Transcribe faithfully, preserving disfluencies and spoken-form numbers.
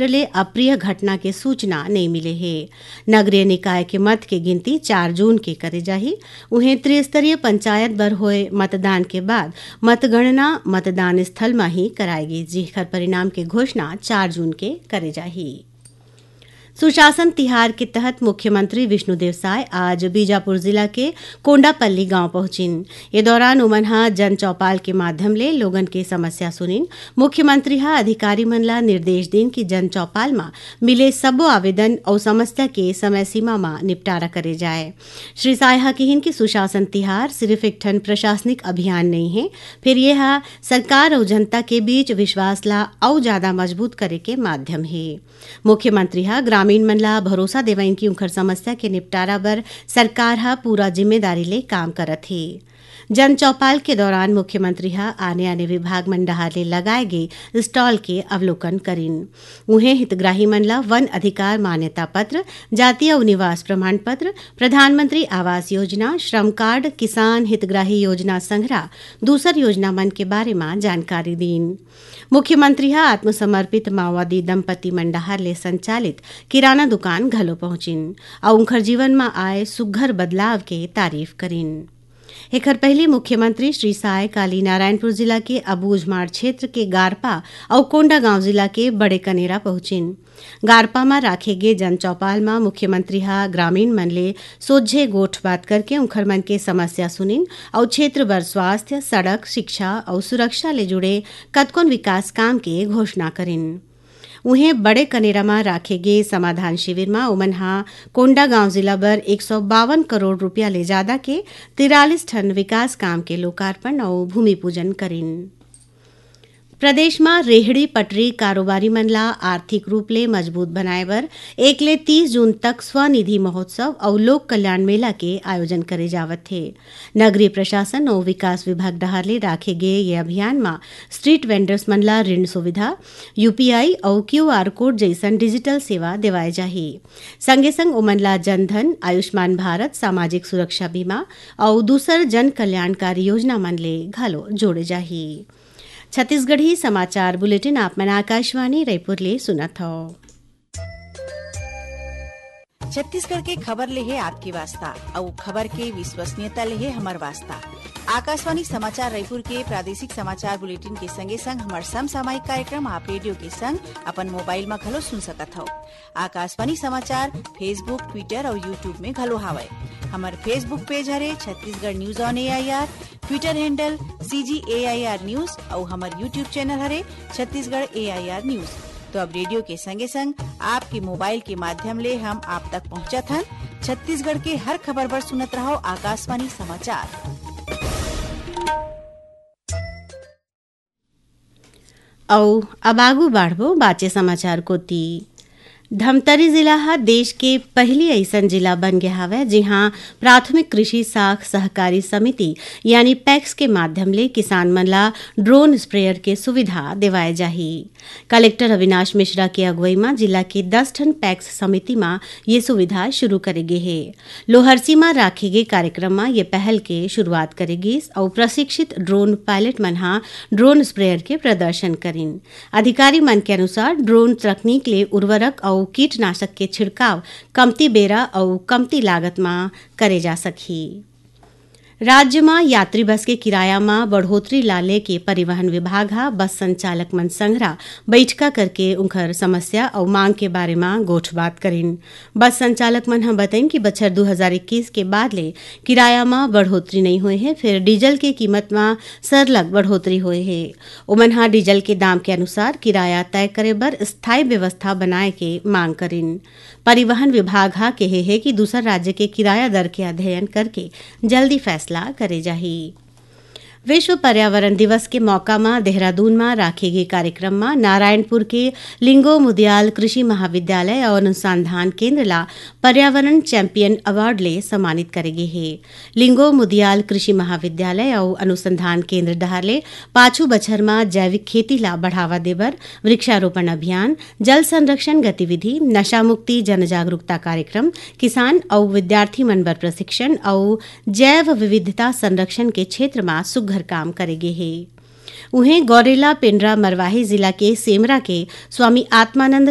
ले अप्रिय घटना के सूचना नइ मिले हे। नगरीय निकाय के मत के गिनती चार जून के करे जाही। उहें, त्रिस्तरीय पंचायत बर होए मतदान के बाद मतगणना मतदान स्थल म ही कराए गे, जेखर परिणाम के घोषणा चार जून के करे जाही। सुशासन तिहार के तहत मुख्यमंत्री विष्णुदेव साय आज बीजापुर जिला के कोंडापल्ली गांव पहुंचिन। ये दौरान उमन ह जन चौपाल के माध्यम ले लोगन के समस्या सुनिन। मुख्यमंत्री ह अधिकारी मन ला निर्देश दिन कि जन चौपाल म मिले सब्बो आवेदन अउ समस्या के समय सीमा म निपटारा करे जाए। श्री साय ह किहिन कि सुशासन तिहार सिर्फ एक ठन प्रशासनिक अभियान नइ हे, फेर ये ह सरकार अउ जनता के बीच विश्वास ला अउ जादा मजबूत करे के माध्यम हे। मुख्यमंत्री ह ग्रामीण मन ला भरोसा देवइन कि उंखर समस्या के निपटारा बर सरकार ह पूरा जिम्मेदारी ले काम करत हे। जन चौपाल के दौरान मुख्यमंत्री ह आने-आने विभाग मन डहार ले लगाए गे स्टॉल के अवलोकन करिन। उहें, हितग्राही मन ला वन अधिकार मान्यता पत्र, जाति अउ निवास प्रमाण पत्र, प्रधानमंत्री आवास योजना, श्रम कार्ड, किसान हितग्राही योजना संघरा दूसर योजना मन के बारे म जानकारी दीन। मुख्यमंत्री ह आत्मसमर्पित माओवादी दंपति मन डहार ले संचालित किराना दुकान घलो पहुंचिन अउ उंखर जीवन म आए सुघ्घर बदलाव के तारीफ करिन। एखर पहिली मुख्यमंत्री श्री साय काली नारायणपुर जिला के अबूझमाड़ क्षेत्र के गारपा अउ कोंडागांव जिला के बड़े कनेरा पहुंचिन। गारपा म राखे गे जन चौपाल म मुख्यमंत्री ह ग्रामीण मन ले सोझे गोठ बात करके उंखर मन के समस्या सुनिन अउ क्षेत्र बर स्वास्थ्य, सड़क, शिक्षा अउ सुरक्षा ले जुड़े कतकोन विकास काम के घोषणा करिन। उहें, बड़े कनेरा म राखे गे समाधान शिविर म उमन ह कोंडागांव जिला बर एक सौ बावन करोड़ रुपया ले जादा के तिरालीस ठन विकास काम के लोकार्पण अउ भूमि पूजन करिन। प्रदेश म रेहड़ी पटरी कारोबारी मन ला आर्थिक रूप ले मजबूत बनाए बर एक ले तीस जून तक स्वनिधि महोत्सव अउ लोक कल्याण मेला के आयोजन करे जावत हे। नगरीय प्रशासन अउ विकास विभाग डहार ले राखे गे ये अभियान म स्ट्रीट वेंडर्स मन ला ऋण सुविधा, यूपीआई अउ क्यूआर कोड जइसन डिजिटल सेवा देवाए जाही। संगे संग ओमन ला जनधन, आयुष्मान भारत, सामाजिक सुरक्षा बीमा अउ दूसर जन कल्याणकारी योजना मन ले घलो जोड़े जाही। छत्तीसगढ़ी समाचार बुलेटिन आप मन आकाशवाणी रायपुर ले सुनत हव। छत्तीसगढ़ के खबर ले हे आपके वास्ता, अउ खबर के विश्वसनीयता ले हे हमर वास्ता। आकाशवाणी समाचार रायपुर के प्रादेशिक समाचार बुलेटिन के संगे संग हमर समसामयिक कार्यक्रम आप रेडियो के संग अपन मोबाइल म घलो सुन सकत हव। आकाशवाणी समाचार Facebook, Twitter अउ YouTube में घलो हावय। हमर Facebook पेज हरे Chhattisgarh news on AIR, Twitter handle CG AIR news अउ हमर YouTube चैनल हरे छत्तीसगढ़ एआईआर न्यूज। तो अब रेडियो के संगे संग आपके मोबाइल के माध्यम ले हम आप तक पहुंचत हन। छत्तीसगढ़ के हर खबर बर सुनत रहव आकाशवाणी समाचार। अउ अब आगू बाढ़बो बाचे समाचार कोति। धमतरी जिला ह देश के पहिली अइसन जिला बन गे हावय, जिहां प्राथमिक कृषि साख सहकारी समिति यानी पैक्स के माध्यम ले किसान मन ला ड्रोन स्प्रेयर के सुविधा देवाए जाही। कलेक्टर अविनाश मिश्रा के अगुवई म जिला के दस ठन पैक्स समिति म ये सुविधा शुरू करे गे हे। लोहरसी म राखे गे कार्यक्रम म ये पहल के शुरुआत करे गिस अउ प्रशिक्षित ड्रोन पायलट मन ह ड्रोन स्प्रेयर के प्रदर्शन करिन। अधिकारी मन के अनुसार, ड्रोन तकनीक ले उर्वरक अउ कीटनाशक के छिड़काव कमती बेरा अउ कमती लागत म करे जा सकही। राज्य म यात्री बस के किराया म बढ़ोतरी ला लेके परिवहन विभाग ह बस संचालक मन संघरा बइठका करके उंखर समस्या अउ मांग के बारे म गोठबात करिन। बस संचालक मन ह बतइन कि बछर दू हजार इक्कीस के बाद ले किराया म बढ़ोतरी नइ होए हे, फेर डीजल के कीमत म सरलग बढ़ोतरी होए हे। ओमन ह डीजल के दाम के अनुसार किराया तय करे बर स्थायी व्यवस्था बनाए के मांग करिन। परिवहन विभाग ह केहे हे कि दूसर राज्य के किराया दर के अध्ययन करके जल्दी फैसला करे जाही। विश्व पर्यावरण दिवस के मौका म देहरादून म राखे गे कार्यक्रम म नारायणपुर के लिंगो मुदियाल कृषि महाविद्यालय अउ अनुसंधान केंद्र ला पर्यावरण चैंपियन अवार्ड ले सम्मानित करे गे हे। लिंगो मुदियाल कृषि महाविद्यालय अउ अनुसंधान केंद्र डहार ले पाछू बछर म जैविक खेती ला बढ़ावा देबर वृक्षारोपण अभियान, जल संरक्षण गतिविधि, नशा मुक्ति जन जागरूकता कार्यक्रम, किसान अउ विद्यार्थी मन बर प्रशिक्षण अउ जैव विविधता संरक्षण के क्षेत्र म सुग्घर काम करे गे हे। उहें, गौरेला पेंड्रा मरवाही जिला के सेमरा के स्वामी आत्मानंद